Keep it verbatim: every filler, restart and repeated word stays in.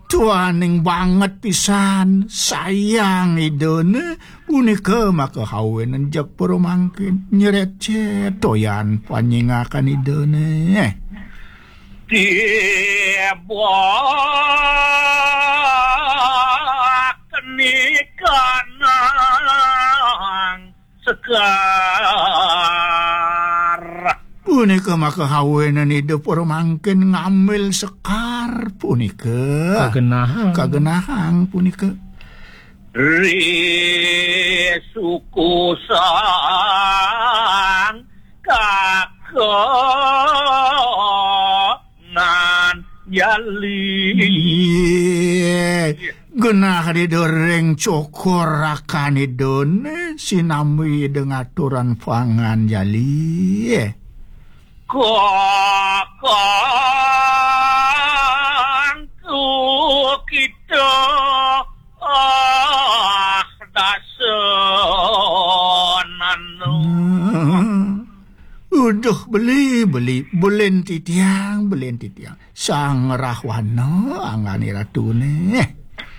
Tuaning banget pisan, sayang Idane, punika maka hawenen jeg para mangkin, nyrecet toyan panyingakan Idane. Tibak nikanang sekar. Punika maka hawenen Ida para mangkin ngambil sekar punika. Kagenahang. Kagenahang punika. Ri suku sang kakengan jali. Genah Ida ring cokor rakan Idane, sinambi Ida ngaturan pangan jali. Kakangku kita, ah, dasananu. Hmm. Uduh, beli, beli, belin titiang, belin titiang. Sang Rahwana anggane ratune.